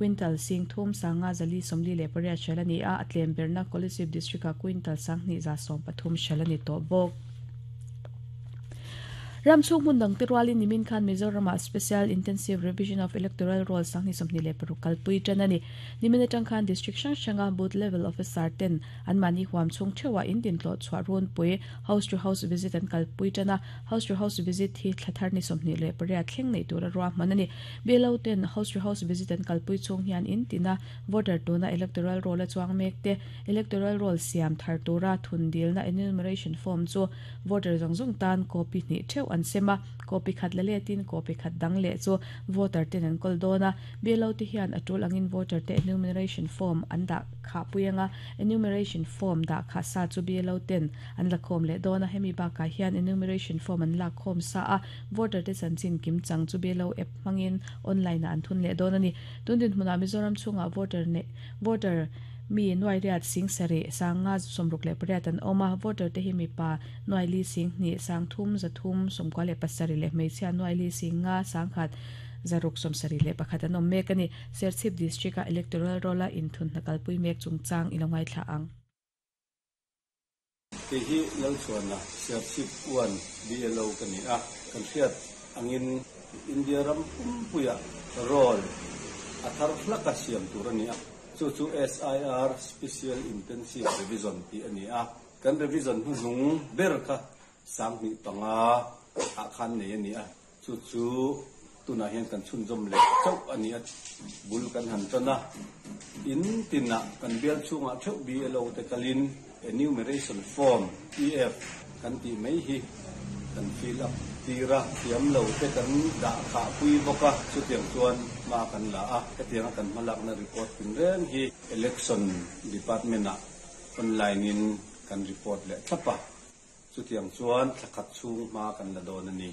Quintal 30 5 448 hralh a ni a, a tlem berna Kolasib District-ah quintal 2113 hralh a ni tawh bawk. Ram chhung hmun dangte rualin nimin khan Mizoramah Special Intensive Revision of Electoral Roll 2026 kalpui tan a ni. Nimin atang khan District hrang hranga Booth Level Officer ten anmahni huam chhung theuhah in dintlawh chhuah runpui House to House Visit an kalpui tan a. House to House Visit hi thla thar ni 28 thleng neih tura ruahman a ni. BLO ten House to House Visit an kalpui chhung hian in tina voter tuna Electoral Roll a chuang mek te Electoral Roll siam thar tura thun dilna Enumeration Form chu Voter zawng zawng tan copy hnih theuh an sem a, copy khat la letin copy khat dang leh chu voter ten an kawl dawn a. BLO te hian a tul angin voter te enumeration form an dah khah pui anga, enumeration form dah khah sa chu BLO ten an la khawm leh dawn a, hemi bakah hian enumeration form an lak khawm sa a, voter te chanchin kim chang chu BLO app hmangin online ah an thun leh dawn a ni. Tun dinhmunah Mizoram chhungah voter neih voter Mi nuairiat sing sarih, 5 68 an awm a, voter te hi mipa nuaili sing hnih, 3 300 97 leh hmeichhia nuaili sing nga, 100 671 an awm mek a ni. Serchhip District-a Electoral Roll-a inthun hna kalpui mek chungchang i lo ngaithla ang. Kei hi Lalchhuana, Serchhip 1 BLO ka ni a, kan hriat angin India ram pumpuiah roll a thar hlaka siam tur a ni a, chu chu SIR, Special Intensive Revision, tih a ni a, kan revision hnuhnung ber kha 2005 ah khan nei a ni a. Chu chu tunah hian kan chhunzawm leh chauh a ni a, bul kan han tan a. In tinah kan bial chhungah theuh BLO te kalin Enumeration Form, EF, kan tih mai hi kan fill up tir a, thiam lo te kan dah khah pui bawk a, chutiang chuan hma kan la a. Hetianga kan hmalakna report tinreng hi Election Department-ah online-in kan report leh thlap a. Chutiang chuan thla khat chhung hma kan la dawn a ni.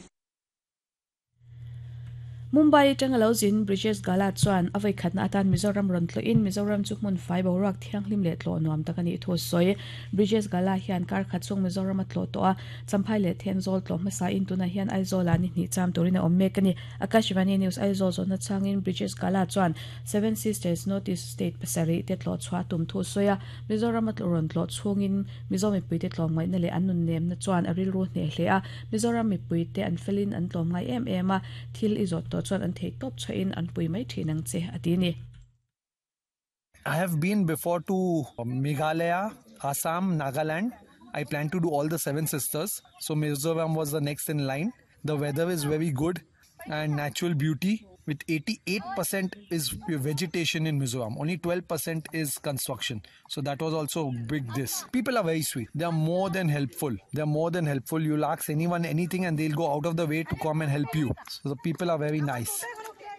Mumbai atanga lo zin Brijesh Gala chuan a vawikhatna atan Mizoram rawn tlawhin Mizoram chu hmun fai boruak thianghlim leh tlawh nuam tak a nih thu a sawi. Brijesh Gala hian kar khat chhung Mizoram a tlawh tawh a, Champhai leh Thenzawl tlawh hmasain tunah hian Aizawlah ni hnih cham turin a awm mek a ni. Akashvani News Aizawl zawhna changin Brijesh Gala chuan Seven Sisters North East State pasarih te tlawh chhuah a tum thu a sawi a, Mizoram a rawn tlawh chhungin Mizo mipuite tlawmngaihna leh an nunnemna chuan a rilru hneh hle a, Mizoram mipuite an felin an tlawmngai em em a, thil i zawt tawh chuan an theih tawp chhuahin an pui mai thin ang che, a ti a ni. I have been before to Meghalaya, Assam, Nagaland. I plan to do all the seven sisters. So Mizoram was the next in line. The weather is very good and natural beauty with 88% is vegetation in Mizoram. Only 12% is construction. So that was also big this. People are very sweet. They are more than helpful. They are more than helpful. You'll ask anyone anything and they'll go out of the way to come and help you. So the people are very nice.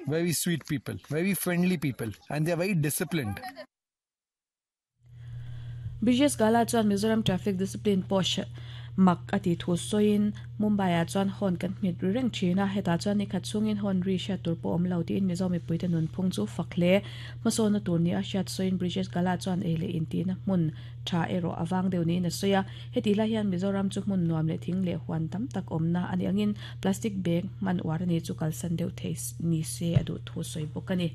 Very sweet people. Very friendly people. And they are very disciplined. Brijesh Gala chuan Mizoram traffic discipline pawh mak a tih thu sawiin Mumbai-ah chuan horn kan hmet ri reng thin a, hetah chuan nikhat chhungin horn ri hriat tur pawh awm lo tiin Mizo mipuite nunphung chu fak hle. Hmasawnna tur nia hriat sawiin Brijesh Gala chuan ei leh intihna hmun tha erawh a vang deuh niin a sawi a, hetih lai hian Mizoram chu hmun nuam leh thing leh huan tam tak awmna a nih angin plastic bag hman uar a ni chu kalsan deuh thei ni se a duh thu sawi bawk a ni.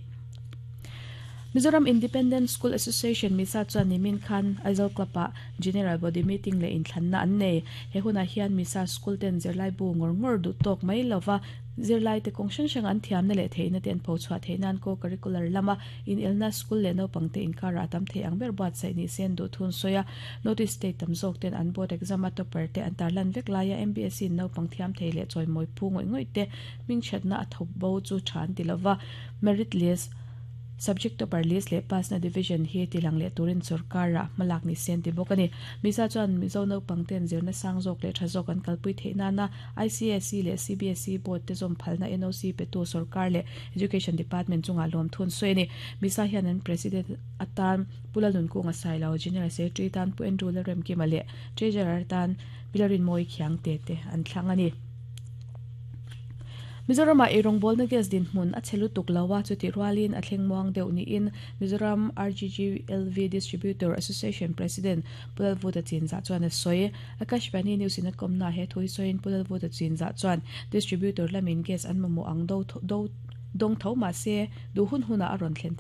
Mizoram Independent School Association Misa chuan nimin khan Aizawl Club-ah General Body Meeting leh inthlanna an nei. He hunah hian Misa School ten zirlai bu ngawr ngawr duh tawk mai lova zirlaite kawng hrang hrang an thiamna leh theihna te an pho chhuah theih nan co-curricular lama inelna school leh naupangte inkarah a tam thei ang ber buatsaih ni se an duh thun sawi a. Notice state tam zawk ten an board exam a topper te an tarlan vek laia MBSE in naupang thiam thei leh chawimawi phu ngawih ngawih te hmingchhiatna a thawk bo chu tha an ti lova. Merit list, Subject topper list leh pass na division hi tilang leh turin sorkar-ah hmalak ni se an ti bawk a ni. Miza chuan Mizo naupang ten zirna sang zawk leh tha zawk an kalpui theih nana ICSE leh CBSE board te zawm phalna NOC petu sorkar leh Education Department chungah lawmthu an sawi a ni. Miza hian an President atan Pu Lalnunkunga Sailo, General Secretary tan Pu Andrew Lalremkima leh Treasurer tan Pi Lalrinmawii Khiangte te an thlang a ni. Mizoramah eirawngbawlna gas dinhmun a chhe lutuk lo a, chutih rualin a thleng muang deuh niin Mizoram RGGLV Distributor Association President Pu Lalvuta Chinzah chuan a sawi. Akashvani News in a kawmnaah he thu hi sawiin Pu Lalvuta Chinzah chuan distributor lamin gas an mamawh ang do dawng tho mahse duh hun hunah a rawn thlen theih.